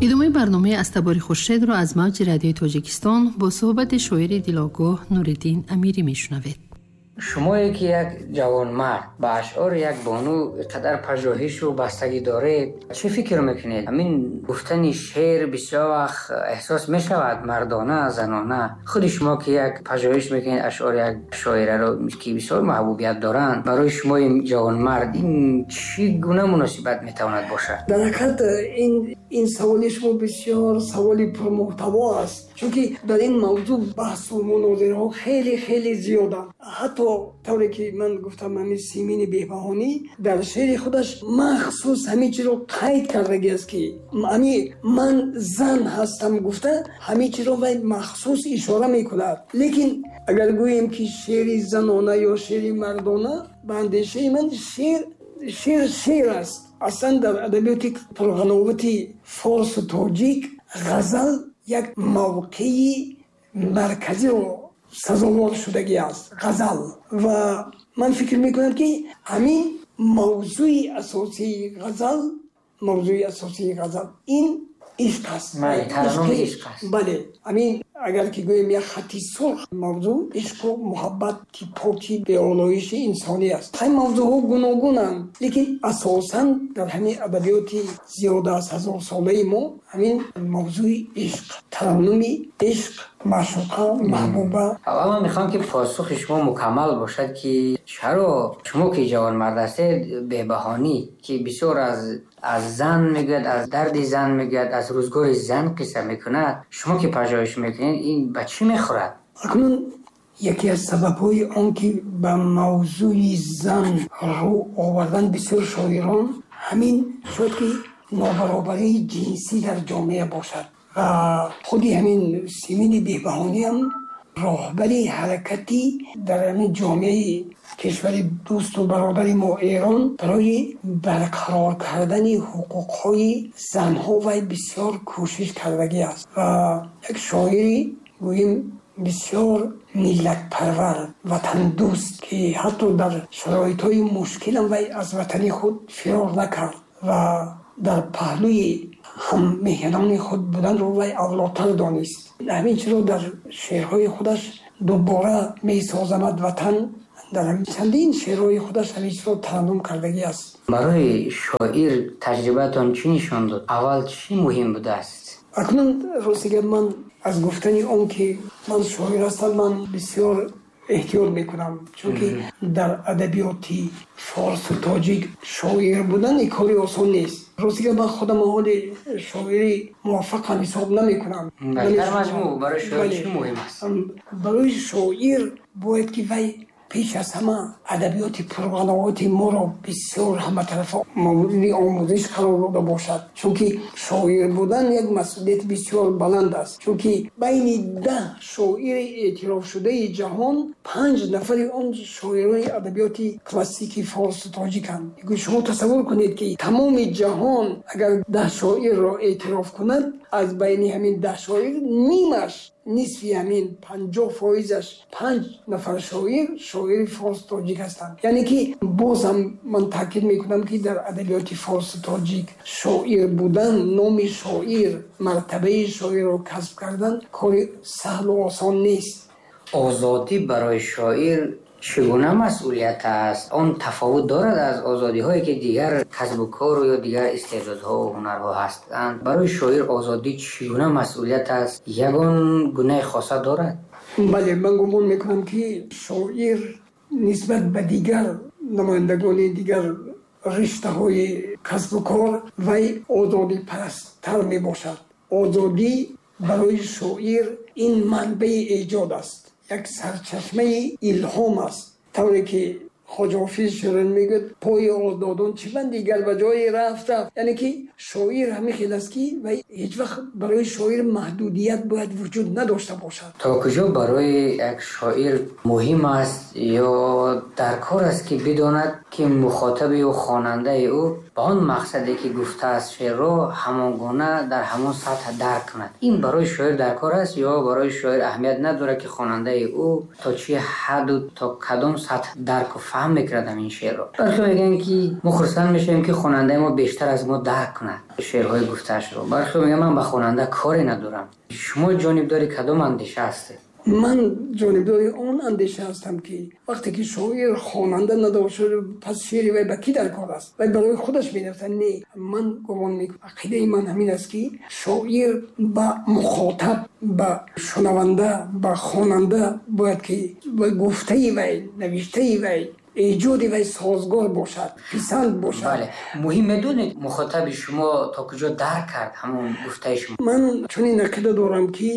Идомаи барномаи «Аз табори Хуршедро» аз мавҷи Радиои Тоҷикистон бо суҳбати шоири дилогоҳ Нуриддин Амирӣ мешунавед. Шумое ки як ҷавонмард ба ашъори як бону қадар пажӯҳишу бастагӣ доред, чӣ фикр мекунед? Ҳамин гуфтани шеър бисёр вақт эҳсос мешавад мардона, занона. Худи шумо ки як пажӯҳиш мекунед ашъори як шоираро, ки бисёр маҳбубият доранд, барои шумои ҷавонмард ин чӣ гуна муносибат метавонад бошад? Дар ҳақиқат, ин саволи шумо бисёр саволи пурмуҳтаво аст, чунки дар ин мавзӯъ баҳсу мунозираҳо хеле хеле зиёданд. Ҳатто тавре ки ман гуфтам, ҳамин Симини Беҳбаҳонӣ дар шеъри худаш махсус ҳамин чизро қайд кардагиаст, ки ҳами ман зан ҳастам гуфта, ҳамин чизро вай махсус ишора мекунад. Лекин агар гӯем, ки шеъри занона ё шеъри мардона, ба андешаи ман, шеър шеър аст. Аслан дар адабиёти пурғановати форсу тоҷик ғазал як мавқеи марказиро сазовор шудагӣ аст, ғазал. Ва ман фикр мекунам, ки ҳамин мавзӯи асосии ғазал, мавзӯи асосии ғазал ин ишқ аст. Бале, ҳамин агар ки гӯем, як хати сурх, мавзӯъ ишқу муҳаббати поки беолоиши инсонӣ аст. Ҳай, мавзӯъҳо гуногунанд, лекин асосан дар ҳамин адабиёти зиёда аз ҳазорсолаи мо ҳамин мавзӯи ишқ, тараннуми ишқ, маъшуқа, маҳбуба. Аввал ман мехоҳам, ки посухи шумо мукаммал бошад, ки чаро шумо ки ҷавонмард ҳастед, Беҳбаҳонӣ, ки бисёр аз зан мегӯяд, аз дарди зан мегӯяд, аз рӯзгори зан қисса мекунад, шумо ки пажӯҳиш мекунед, ин ба чӣ мехӯрад? Акнун яке аз сабабҳои он ки ба мавзӯи зан рӯ овардан бисёр шоирон, ҳамин шояд ки нобаробарии ҷинсӣ дар ҷомеа бошад. Ва худи ҳамин Симини Беҳбаҳониам роҳбари ҳаракати дар ҳамин ҷомеаи кишвари дӯсту бародари мо Эрон барои барқарор кардани ҳуқуқҳои занҳо вай бисёр кӯшиш кардагӣ аст ва як шоири, гӯем, бисёр миллатпарвар, ватандӯст, ки ҳатто дар шароитҳои мушкилам вай аз ватани худ фирор накард ва дар паҳлӯи ҳаммеҳанони худ буданро вай авлотар донист. Ҳамин чизро дар шеърҳои худаш дубора месозамад ватан, дар чандин шеърҳои худаш ҳамин чизро тараннум кардагӣ аст. Барои шоир таҷрибаатон чӣ нишон дод? Аввал чӣ муҳим будааст? Акнун, рости гап, ман аз гуфтани он ки ман шоир ҳастам, ман бисёр эҳтиёт мекунам, чунки дар адабиёти форсу тоҷик шоир будан ин кори осон нест. Рости гап, ман худам ҳоли шоири муваффақам ҳисоб намекунам. Дар маҷмӯъ барои шоир чӣ муҳим аст? Барои шоир бояд ки вай пеш аз ҳама адабиёти пурғановати моро бисёр ҳаматарафа мавриди омӯзиш қарор дода бошад, чунки шоир будан як масъулияти бисёр баланд аст, чунки байни 10 шоири эътирофшудаи ҷаҳон панҷ нафари он шоирони адабиёти классики форсу тоҷиканд. Шумо тасаввур кунед, ки тамоми ҷаҳон агар 10 шоирро эътироф кунад, аз байни ҳамин 10 шоир нимаш, нисфи ҳамин, 50%-аш, панҷ нафар шоир шоири форсу тоҷик ҳастанд. Яъне ки бозам ман таъкид мекунам, ки дар адабиёти форсу тоҷик шоир будан, номи шоир, мартабаи шоирро касб кардан кори саҳлу осон нест. Озодӣ барои шоир чӣ гуна масъулият аст? Он тафовут дорад аз озодиҳое, ки дигар касбу кору ё дигар истеъдодҳову ҳунарҳо ҳастанд? Барои шоир озодӣ чӣ гуна масъулият аст? Ягон гунаи хоса дорад? Бале, ман гумон мекунам, ки шоир нисбат ба дигар намояндагони дигар риштаҳои касбу кор вай озодипарасттар мебошад. Озодӣ барои шоир ин манбаи эҷод аст, як сарчашмаи илҳом аст. Тавре ки Хоҷа Ҳофиз шеъран мегӯяд: «Пои озодон чӣ банди, гар ба ҷое рафт, рафт». Яъне ки шоир ҳамин хел аст, ки вай ҳеҷ вақт, барои шоир маҳдудият бояд вуҷуд надошта бошад. То куҷо барои як шоир муҳим аст ё дар кор аст, ки бидонад, ки мухотаби ӯ, хонандаи ӯ Ба он мақсаде ки гуфтааст шеърро ҳамон гуна дар ҳамон сатҳ дарк кунад. Ин барои шоир дар кор аст ё барои шоир аҳамият надорад, ки хонандаи ӯ то чӣ ҳадду то кадом сатҳ дарку фаҳм мекунад ҳамин шеърро? Бархе мегӯянд, ки мо хурсанд мешавем, ки хонандаи мо бештар аз мо дарк кунад шеърҳои гуфтаашро. Бархе мегӯянд, ман ба хонанда коре надорам. Шумо ҷонибдори кадом андеша ҳастед? Ман ҷонибдори он андеша ҳастам, ки вақте ки шоир хонанда надошт, пас шеъри вай ба кӣ дар кор аст? Вай барои худаш менависад. Не, ман гумон мекунам, ақидаи ман ҳамин аст, ки шоир ба мухотаб, ба шунаванда, ба хонанда бояд ки ба гуфтаи вай, навиштаи вай, эҷоди вай созгор бошад, писанд бошад. Бале, муҳим медонед, мухотаби шумо то куҷо дарк кард ҳамон гуфтаи шумо? Ман чунин ақида дорам, ки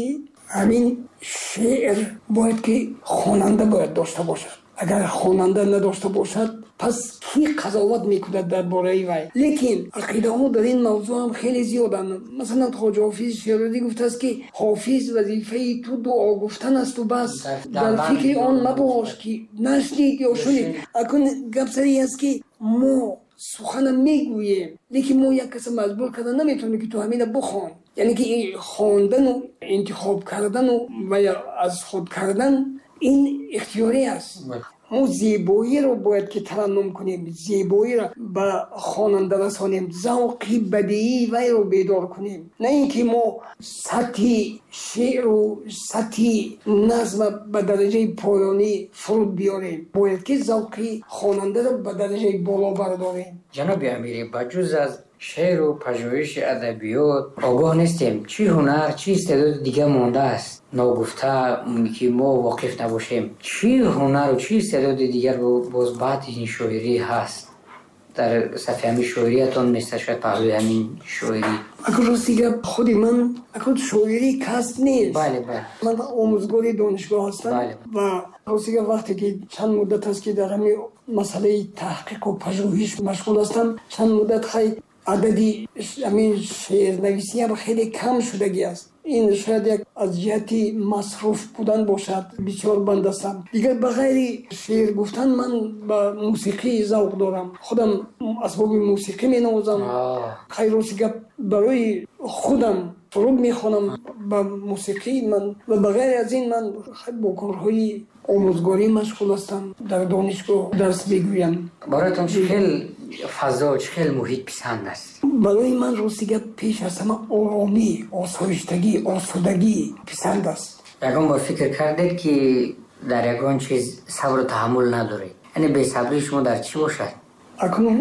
ҳамин шеър бояд ки хонанда бояд дошта бошад. Агар хонанда надошта бошад, пас кӣ қазоват мекунад дар бораи вай? Лекин ақидаҳо дар ин мавзӯъ ҳам хеле зиёданд. Масалан, Хоҷа Ҳофиз Шерозӣ гуфтааст, ки Ҳофиз, вазифаи ту дуо гуфтан асту бас, дар фикри он мабош, ки нашнид ё шунид. Акун гап сари аст, ки мо сухана мегӯем, лекин мо як каса маҷбур карда наметавонем, ки ту ҳамина бихон. Яъне ки хондану интихоб кардану ва аз худ кардан ин ихтиёрӣ аст. Мо зебоиро бояд ки тараннум кунем, зебоиро ба хонанда расонем, завқи бадиии вайро бедор кунем, на ин ки мо сатҳи шеъру сатҳи назма ба дараҷаи поёнӣ фуруд биёрем. Бояд ки завқи хонандаро ба дараҷаи боло бардорем. Ҷаноби Амирӣ, ба ҷуз аз шеъру пажӯҳиши адабиёт огоҳ нестем, чӣ ҳунар, чӣ истеъдоди дига мондааст ногуфта, ки мо воқиф набошем? Чӣ ҳунару чӣ истеъдоди дигар боз баъди ин шоирӣ ҳаст? Дар сафи ҳамин шоириятон места, шояд паҳлӯи ҳамин шоирӣ. Акун рости гап, худи ман акун шоирӣ касб нест. Бале, бале. Ман омӯзгори донишгоҳ ҳастам. Ва рости гап, вақте ки чанд муддат аст, ки дар ҳамин масъалаи таҳқиқу пажӯҳиш машғул ҳастам, чанд муддат хай адади ҳамин шеърнависӣ ҳам хеле кам шудагӣ аст. Ин шояд як аз ҷиҳати масруф будан бошад, бисёр банд ҳастам. Дигар ба ғайри шеър гуфтан ман ба мусиқӣ завқ дорам, худам асбоби мусиқӣ менавозам. Хайр, рости гап, барои худам суруд мехонам ба мусиқӣ ман. Ва ба ғайри аз ин ман бо корҳои омӯзгорӣ машғул ҳастам, дар донишгоҳ дарс мегӯям. Бароятон чӣ хел фазо, чӣ хел муҳит писанд аст? Барои ман, рости гап, пеш аз ҳама оромӣ, осоиштагӣ, осудагӣ писанд аст. Ягон бор фикр кардед, ки дар ягон чиз сабру таҳаммул надоред? Яъне бесабрии шумо дар чӣ бошад? Акнун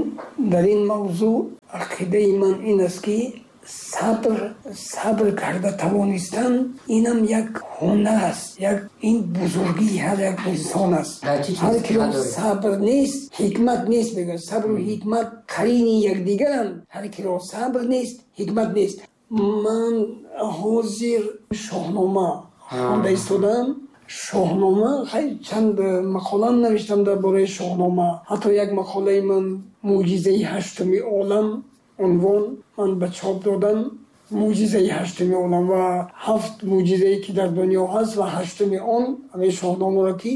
дар ин мавзӯъ ақидаи ман ин аст, ки сабр карда тавонистан инам як ҳунар аст, як ин бузургии ҳар як инсон аст. Ҳар киро сабр нест, ҳикмат нест, мегӯяд. Сабру ҳикмат қарини якдигаранд. Ҳар киро сабр нест, ҳикмат нест. Ман ҳозир Шоҳнома хонда истодам. Шоҳнома, хай, чанд мақолаам навиштам дар бораи Шоҳнома. Ҳатто як мақолаи ман «Мӯъҷизаи ҳаштуми олам» унвон ман ба чоп додам. Мӯъҷизаи ҳаштуми олам ва ҳафт мӯъҷизае, ки дар дунё ҳаст, ва ҳаштуми он ҳамин Шоҳномаро, ки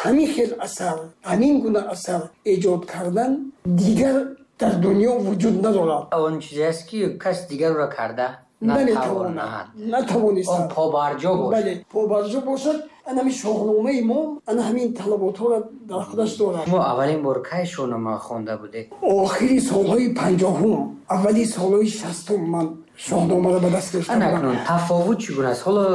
ҳамин хел асар, ҳамин гуна асар эҷод кардан дигар дар дунё вуҷуд надорад. Он чизе аст, ки кас дигарро карда наметавонад, натавонистад. Он побарҷо бошад. Бале, побарҷо бошад. Ана ҳамин Шоҳномаи мо ана ҳамин талаботҳоро дар худаш дорад. Шумо аввалин бор кай Шоҳнома хонда будед? Охири солҳои 50-ум, аввали солҳои 60-ум ман Шоҳномаро ба даст гирифтам. Ана акнун тафовут чӣ гуна аст? Ҳоло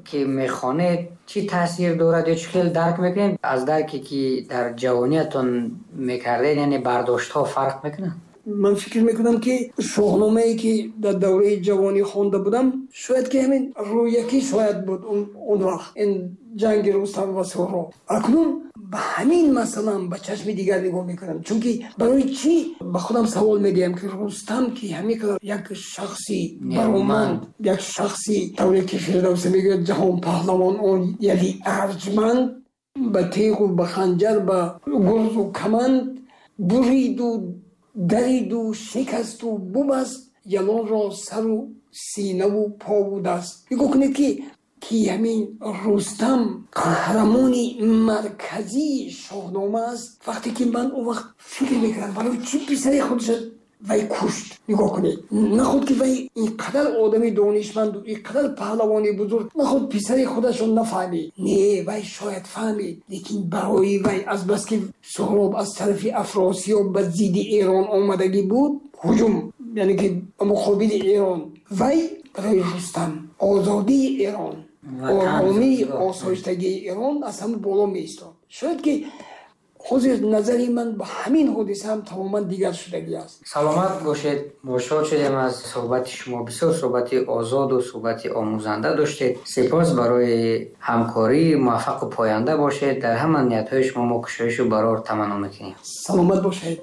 ки мехонед, чӣ таъсир дорад ё чӣ хел дарк мекунед аз дарке, ки дар ҷавониятон мекардед? Яъне бардоштҳо фарқ мекунанд? Ман фикр мекунам, ки Шоҳномае, ки дар давраи ҷавонӣ хонда будам, шояд ки ҳамин рӯякӣ шояд буд он вақт ин ҷанги Рустам ва Суҳроб. Акнун ба ҳамин масъалаам ба чашми дигар нигоҳ мекунам, чунки барои чӣ ба худам савол медиҳам, ки Рустам, ки ҳамин қадар як шахси бароманд, як шахси, тавре ки Фирдавсӣ мегӯяд, ҷаҳон паҳлавон, он яли арҷманд, ба теғу ба ханҷар, ба гурзу каманд буриду дариду шикасту бубаст ялонро сару синаву пову даст. Нигоҳ кунед, ки ҳамин Рустам қаҳрамони марказии Шоҳнома аст. Вақте ки ман он вақт фикр мекардам, барои чӣ писари худша Вай кушт. Нигоҳ кунед, наход ки вай инқадар одами донишманду инқадар паҳлавони бузург, наход писари худашро нафаҳмид. Не, вай шояд фаҳмид, лекин барои вай азбаски Суҳроб аз тарафи Афросиёб ба зидди Эрон омадагӣ буд, ҳуҷум, яъне ки ба муқобили Эрон, вай барои Рустам озодии Эрон, оромӣ, осоиштагии Эрон аз ҳама боло меистод. Шояд ки ҳозир назари ман ба ҳамин ҳодиса ҳам тамоман дигар шудагӣ аст. Саломат бошед. Шод шудем аз суҳбати шумо. Бисёр суҳбати озоду суҳбати омӯзанда доштед. Сипос барои ҳамкорӣ. Муваффақу поянда бошед. Дар ҳама ниятҳои шумо мо кушоишу барор таманно мекунем. Саломат бошед.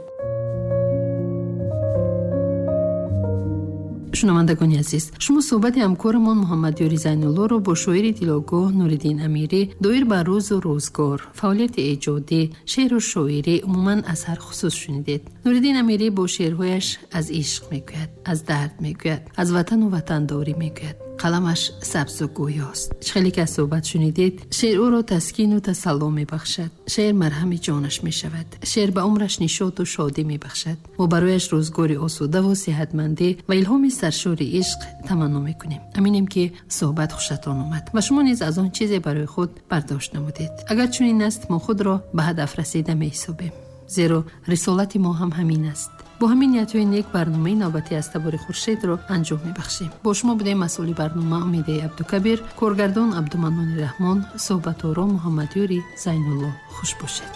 Шунавандагони азиз, шумо суҳбати ҳамкорамон Муҳаммадёри Зайнуллоро бо шоири дилогоҳ Нуриддин Амирӣ доир ба рӯзу рӯзгор, фаъолияти эҷодӣ, шеъру шоирӣ, умуман аз ҳар хусус шунидед. Нуриддин Амирӣ бо шеърҳояш аз ишқ мегӯяд, аз дард мегӯяд, аз ватану ватандорӣ мегӯяд. Қаламаш сабзу гӯёст. Чӣ хеле ки аз суҳбат шунидед, шеър ӯро таскину тасалло мебахшад. Шеър марҳами ҷонаш мешавад. Шеър ба умраш нишоту шодӣ мебахшад. Мо барояш рӯзгори осудаву сеҳатмандӣ ва илҳоми саршори ишқ таманно мекунем. Аминем, ки суҳбат хушатон омад ва шумо низ аз он чизе барои худ бардошт намудед. Агар чунин аст, мо худро ба ҳадаф расида меҳисобем, зеро рисолати мо ҳам ҳамин аст. Бо ҳамин ниятҳои нек барномаи навбатӣ аз Табори Хуршедро анҷом мебахшем. Бо шумо будем масъули барнома Умидаи Абдукабир, коргардон Абдуманнони Раҳмон, суҳбаторо Муҳаммадёри Зайнулло. Хуш бошед.